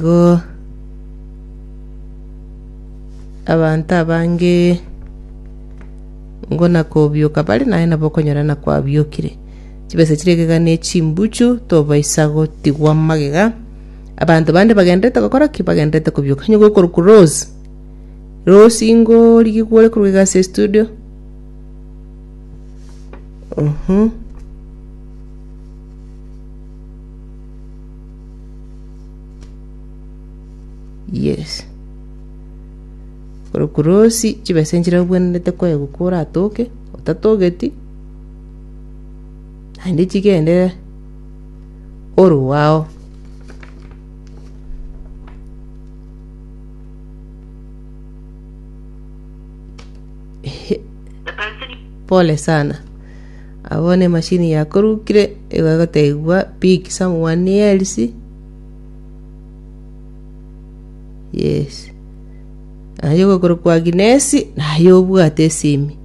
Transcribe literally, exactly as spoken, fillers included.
Igo abanto abange ngona kobioka bare naye nabo okonyora na kwabiokire. Chibesa chiria egega ne chimbuchu tobaisa gotigwa magega. Abanto bande bagenderete gokora ki? Bagenderete kobioka. Onye gokorokwa Rose, Rose ingorigigwa ore korwa iga ase estudio. Uhum. Yes. Korokwa Rose, chibesa nchire obwenerete koegwa koratoke, otatogeti, naende chigende orwao. Ehe. Pole sana. Abwo ne emashini yakorukire igo egotebiwa pick someone else. Yes. Aye ogokorokwa Agnes, naye obwate esimi.